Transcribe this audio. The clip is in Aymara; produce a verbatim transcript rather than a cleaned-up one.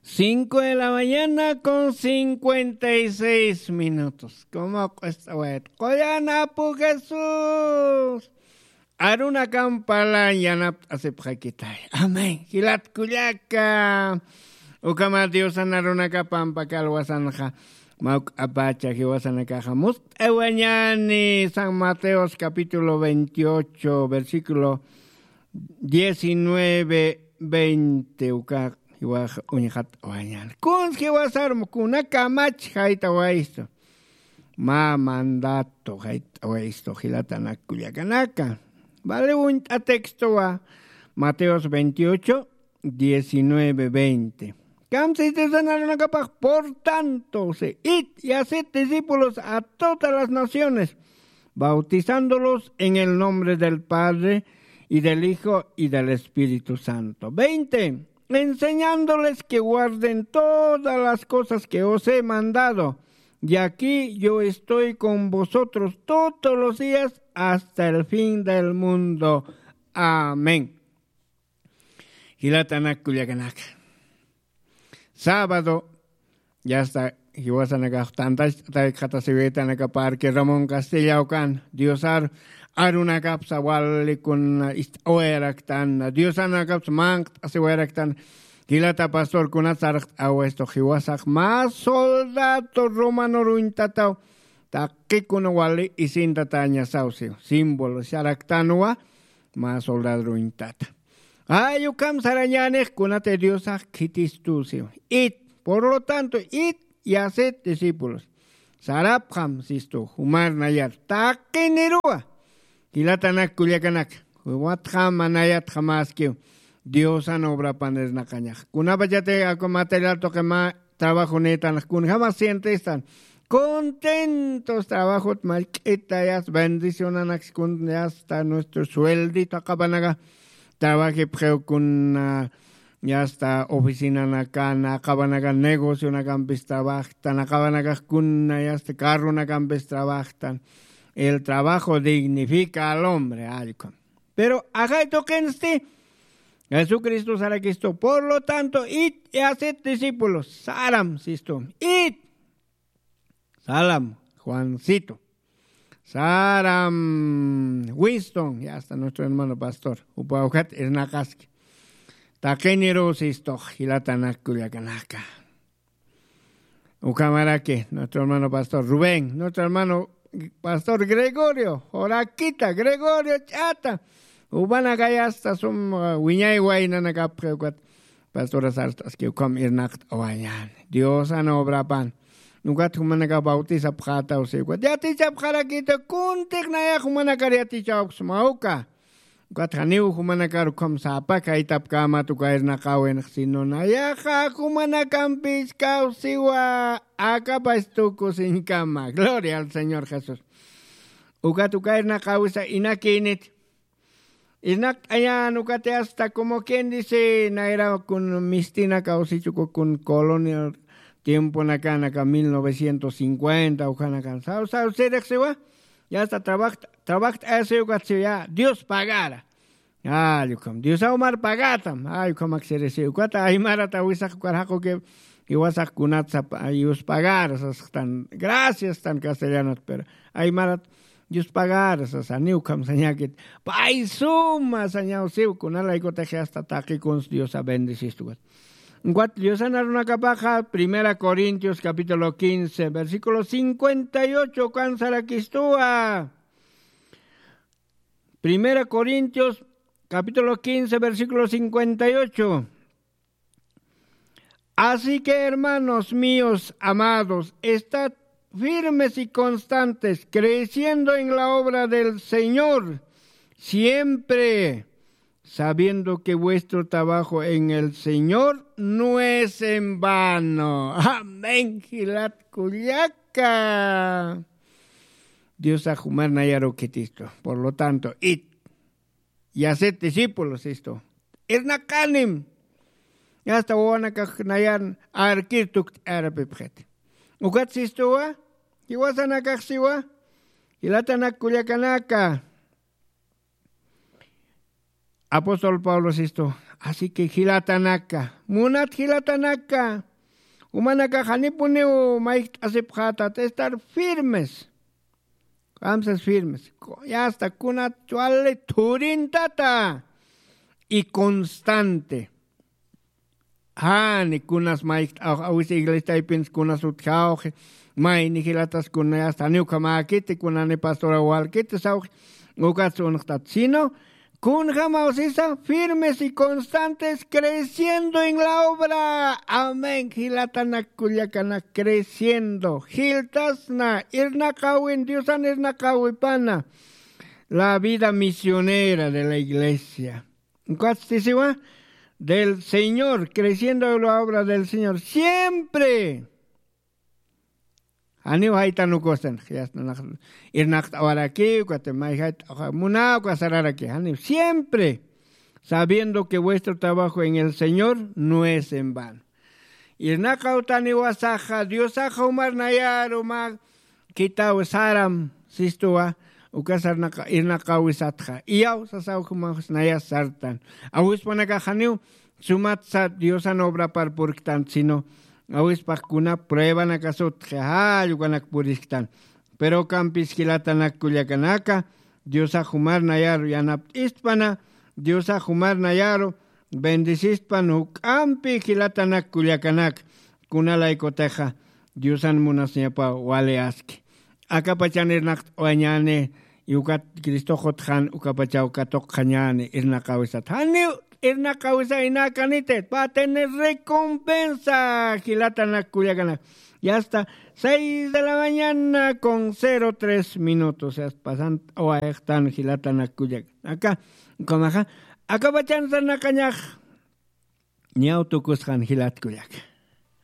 Cinco de la mañana con cincuenta y seis minutos. Como q'uest'awayat, qoyan apu Jesús. Arunakam parlañ yanapt'asipxakitay. Amén. Jilat kullaka. Ukhama Diosan arunakap pampakalwasanxa, mawk'apacha jiwasanakaxa must'awañani. San Mateos capítulo veintiocho, versículo diecinueve, veinte, uka jiwax uñxat'awañani. Kuns jiwasarm kunakamach jayt'awaystu. Mä mandato jayt'awaystu, jilatanak kullakanaka. Vale, uñt'a textowa, Mateos veintiocho, diecinueve, veinte. Kamsiti sanarunakapax, por tanto, se id y haced discípulos a todas las naciones, bautizándolos en el nombre del Padre y del Hijo y del Espíritu Santo. Veinte, enseñándoles que guarden todas las cosas que os he mandado. Y aquí yo estoy con vosotros todos los días hasta el fin del mundo. Amén. Jilatanak kullakanaka. Sábado, ya está, jiwasanakax tantach'ataykxatasiwitanaka parque Ramón Castilla ukan, Diosar arunakapsa wali kuna ist'awayaraktan, Diosanakapsa manqt'asiwayaraktan, jilata pastor kunat sarqt'awa esto, jiwasax mä soldado romano ruñtataw, taqikuna wali isintatañasaw siw, símbolo saraktanwa, mä soldado ruñtata. Ay, ukham sarañänix kunatï Diosax khitistu siw. Id, por lo tanto, id y haced discípulos. Sarapxam sistu, jumar nayar, taqiniruwa. Jilatanak kullakanak, jumatxam nayatxa maskiw. Diosan obrapan irnaqañax. Kunapachatï aku material tuqi mä trabajo nïtan, kunjamas sientestan. Contentos trabajot mallk'ita, ya está, bendicionanaks kun, ya está, nuestro sueldito aqapanaka trabajipxiw kun, ah, ya está, oficinanakan, aqapanaka negocionakampis trabajtan, aqapanaka kun, ya está, carronakampis trabajtan. El trabajo dignifica al hombre, allkun. Pero ajay tuqinsti, Jesucristo sarakistu, por lo tanto, id y haced discípulos. Saram, sistu. Id. Salam, Juancito. Saram, Winston. Ya está nuestro hermano pastor. Upa ukat irnaqaski. Taqiniru sistu, jilatanak kullakanaka. Ukhamaraki, nuestro hermano pastor Rubén, nuestro hermano pastor Gregorio, Joraquita, Gregorio Ch'ata. Upanaka ya está sum, uh, wiñay waynanakapxi ukat. Pastora sart'aski ukham irnaqt'awañäni. Diosan obrapan. Ukat jumanaka bautizapxätaw si ukat. Yatichapxarakita, kuntix nayax jumanakar yatichawksma uka. Ukat janiw jumanakar ukham sapa kaytapkämat uka irnaqäwinx, sino nayaxa jumanakampis kawsiwa, akapax tukusiñkama. Gloria al Señor Jesús. Ukat uka irnaqäwisa inakïnit. Irnaqt'añän ukat hasta como quien dice, nayra kun mistina kawsichuku kun colonial tiemponakanaka mil novecientos cincuenta, ukhanakan. Saw, saw, sirix siwa. Ya está, trabaja, trabaja, ese ukat siw ya, Dios pagara. Ay, ukham, Dios awmar pagatam. Ay, ukhamak sirisi. Ukata aymarata wisax ukar jaquki, iwasax kunat sapa, ay, Dios pagara, sasxtan. Gracias, tan castellanot, pero aymarat, Dios pagara, sasa, ni ukham sañakit. Pay suma, sañaw siw, kunalaykutix hasta taqi kuns Diosa bendicistu ukat. Ukat Diosan arunakapaxa, Primera Corintios capítulo quince, versículo cincuenta y ocho, kan sarakistuwa. Primera Corintios capítulo quince, versículo cincuenta y ocho. Así que, hermanos míos amados, estad firmes y constantes, creciendo en la obra del Señor, siempre sabiendo que vuestro trabajo en el Señor no es en vano. Amén, jilat kullaka. Diosax jumar nayaru khitistu. Por lo tanto, id y haced discípulos, sistu. Irnaqanim. Hasta wawanakax nayan arkir tukt'arapipxit. Ukat sistuwa, jiwasanakax siwa, jilatanak kullakanaka. Apóstol Pablo sistu, así que jilatanaka, Munat jilatanaka, umanaka janipuniw mayjt'asipxatat estar firmes. Kamsas firmes. Yasta kunat chwali thurintata y constante. Jani kunas mayjt'awx awis iglesiaypins kunas utjawxi, mayni jilatas kunayasta janiw khamäkiti kunani pastora walkiti sawxi. Ukats unxtat sino kunjamaw sisa firmes y constantes creciendo en la obra. Amén. Jilatanak kullakanak, creciendo jiltasna irnaqawin diosan irnaqawipana. La vida misionera de la iglesia. Ukatstisiwa del señor, creciendo la obra del señor siempre. Janiw jaytanukustan irnaqt'awarakiw kati mayjayt'awa munawka sararaki janiw siempre, sabiendo que vuestro trabajo en el señor no es en vano. Irnaqawtaniwasaxa diosaxa umar nayaru mä khithaw saram sistuwa. Ukasarnaqa irnaqawisatxa iyaw sasaw jumaxs nayas sartan. Awispanakaxaniw sumatsa diosan obrapar purktan sino awispax kuna pruebanakasutxi jall ukanak purisktan. Pero ukampis jilatanak kullakanaka diosax jumar nayaru yanapt'istpana, diosax jumar nayaru bendecistpan juk'ampi jilatanak kullakanak. Kunalaykutixa diosan munasñapaw wali aski. Akapachan irnaqt'awañäni y ukat cristox utxan ukapachaw katuqxañäni irnaqawisat janiw irnaqawisa inäkaniti va a tener recompensa. Jilatanak kullakanak, ya está seis de la mañana con cero tres minutos yasta pasant'awayxtan jilatanak kullakanaka. Ukhamaxa akapachan sarnaqañax ñaw tukusxan jilat kullaka.